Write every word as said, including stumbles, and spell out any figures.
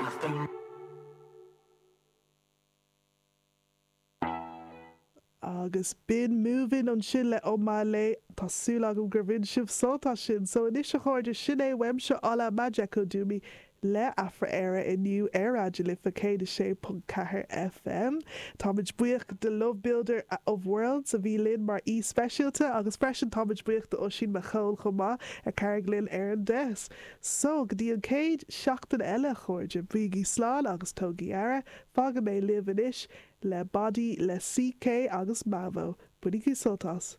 I've Agus b'in Movin' ansin le Omah Lay, tá súil agam gur bhain sibh sult as sin. So anois a chairde, sin é uaimse Ola Majekodunmi le Afra-Éire inniu ar Raidió na Life céad a sé ponc ceathair FM. Táimid buíoch de Love Builder of Worlds a bhí linn mar aoi speisialta agus freisin táimid buíoch de Oisín Mac Cóil chomh maith a chabhraigh linn ar an desk. So go dtí an chéad seachtain eile a chairde, bígí slán agus tógaigí aire, fágfaidh mé libh anois le Body le CK agus Mavo. Bainigí sult as.